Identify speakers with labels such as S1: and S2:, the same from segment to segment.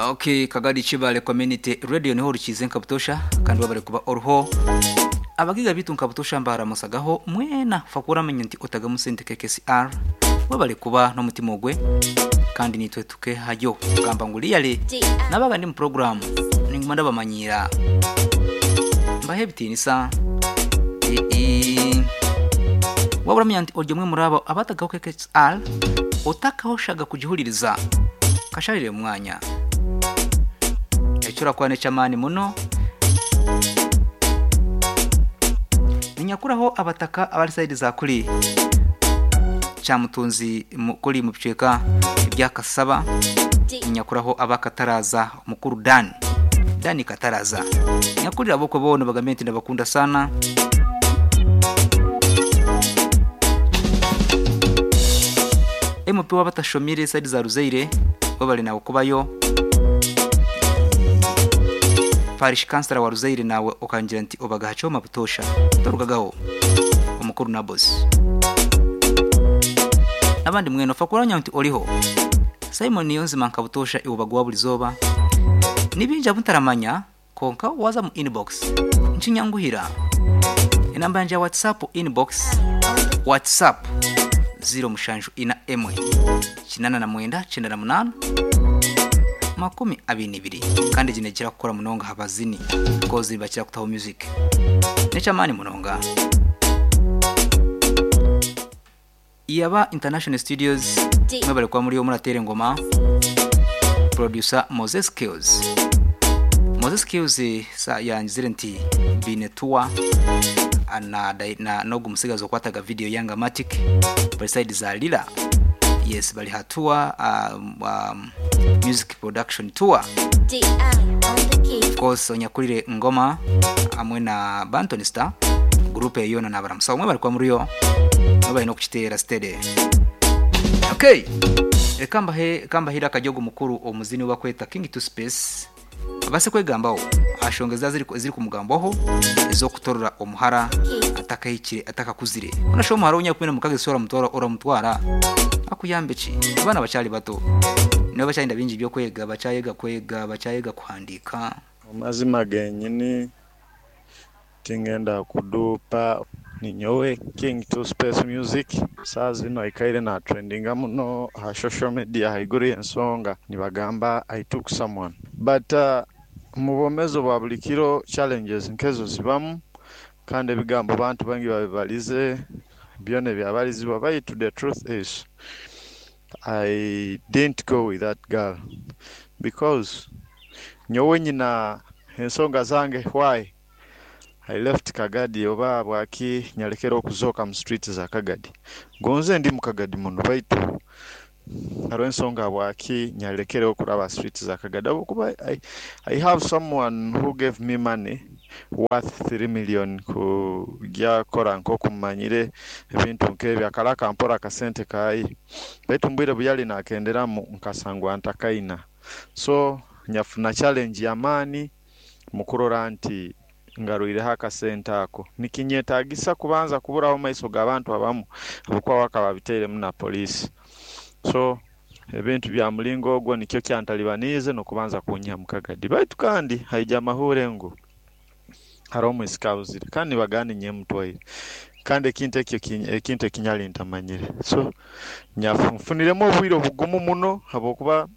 S1: Okay, Kagadi Kibale Community Radio niho rukize nka butosha kandi wabare kuba oruho abagiga bitu nka butosha mbaramusagaho mwena fakura menya nti otagamu sente KKCR wabare kuba n'omutima ogwe kandi nitwe tuke hayo gamba ngu liyale nabaga ndi mu program ninguma ndabamanyira mbahe bitinisa wabura menya nti oryo mwe murabo abatagaho KKCR otakahoshaga kugihuririza kasharire mwanya ekyo kwane ky'amaani muno ninyakuraho abataka abari sayidi za kuri kyamutunzi kuri mu bicweka ebyakasaba ninyakuraho abakataraza mukuru dani dani kataraza nyakurira abokwe boona bagambe nti ndabakunda sana. MP w'abatashomire sayidi za Ruzeire bo bari nawe kubayo parish councilor wa Ruzeire nawe ukangira nti obagaha choma butosha torugagaho omukuru na boss nabandi mweno fakuranya nti oliho Simon Niyonzima nkabutosha iwubagwa buli zoba nibinja buntaramanya konka waza mu inbox nchinyanguhira inamba yanje ya WhatsApp inbox WhatsApp 0 mushanju ina emwe 89 98 22 kandi jine kira kukora munonga habazini kozi bakira kutaho music nechamani munonga Iyaba International Studios mwebale kwa muri yo muratere ngoma producer Moses Kills Moses Kills sa yanzire nti binetua ana na nogu musigazo kwataga video yanga matic bali side za lila yes bali hatua music production tour of course onyakulire ngoma amwe na Banton Star group yona na baramusa umwe bari kwa muri yo bari no kuchitera steady. Okay, kamba hira kajogo mukuru omuzini wakweta King to Space abase kwegambaho ashongeza ziri kumugambaho izo kutorora omuhara atakahikire atakakuzire unasho omuhara unya mukage sora mutwara ora mutwara akuyambe ki abana bachali bato nibo bachayinda bingi byo kwega bachayega kwega bachayega kuhandika
S2: amazima genyini tingenda kudupa ninyowe King to Space Music saa zino ikaire na trendinga muno ha social media haiguru ensonga nibagamba I took someone but mubomezo bwa buli kiro challenges nkezo zibamu kandi ebigambo bantu bangi babibalize byona byabalizibwa baitu the truth is I didn't go with that girl because nyowe nyina ensonga zange why I left Kagadi oba bwaki nyalekera okuzoka mu street za Kagadi gonze ndi mu Kagadi muno baitu hariho ensonga bwaki nyalekera okuraba street za Kagadi kuba I have someone who gave me money worth 3 million kujya kora nkokumanyire ebintu nkebyo akalaka mpora akasente kayi baitu mbwire buyali nakenderamu nkasangwa ntakaina so nyafuna challenge y'amaani mukurora nti ngaruireho akasente ako nikinyetagisa kubanza kuburaho maiso g'abantu abamu abukuba wakababiteiremu na poliisi so ebintu bya mulingo ogwo nikyo kyantalibaniize n'okubanza kunyiha mu Kagadi baitu kandi haija amahure ngu hariho omwisika abuzire kandi nibagamba ninye mutwaire kandi ekintu ekyo ekintu ekinyali ntamanyire so nfuniremu obwire obugumu muno habwokuba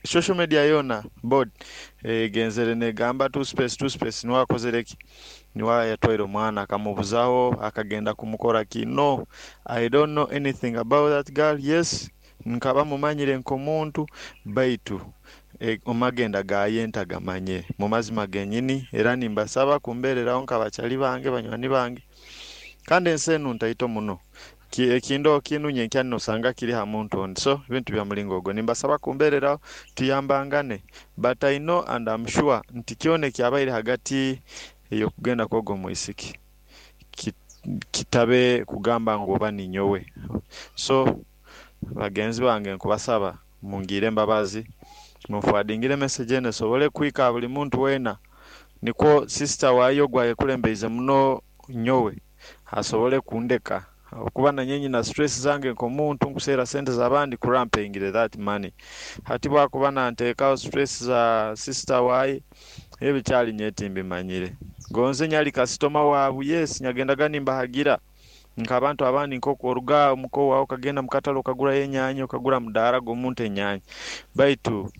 S2: social media yona board egenzere negamba two space niwe akozere ki niwe yatwaire omwana akamubuzaho akagenda kumukora ki no I don't know anything about that girl yes nkaba mumanyire nk'omuntu baitu omagenda gaye ntagamanye mu mazima genyini era nimbasaba kumbereraho nkabachali bange banywani bange kandi ensi enu ntaito muno ekindo kinunye nkya nosanga kiri ha muntu ondi so ebintu bya mulingo ogwo nimbasaba kumbereraho tuyambangane but I know and I'm sure nti kyona ekyabaire hagati ey'okugenda kwogwo mwisiki kitabe kugamba ngu oba ninyowe so bagenzi bange nkubasaba mungire embabazi munfwadingire message eno esobole kwika buli muntu weena nikwo sister wayo gwayekulembeize muno nyowe asobole kundeka Habwokuba nanye nyina stress zange nk'omuntu nkuseera sente z'abandi kurora mpengire that money. Hati bwakuba nanteekaho stress za sister waye, ebi kyali nyowe timbimanyire. Gonze nyali kasitoma waabu, yes, nyagendaga nimbahagira nk'abantu abandi, nk'oku oruga omuka owaawe okagenda mukatale okagurayo enyaanya, okagura mudaara gw'omuntu enyaanya, baitu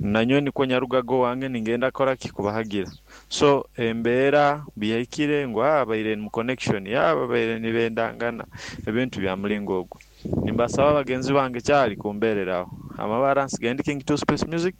S2: nanyowe nikwo nyarugaga owange ningenda kukora ki? Kubahagira. So embeera biyahikire ngu babaire mu connection, babaire nibendangana, ebintu bya mulingo ogu. Nimbasaba bagenzi bange kyali kumbeereraho. Amabara nsigaire ndi King 2 Space Music.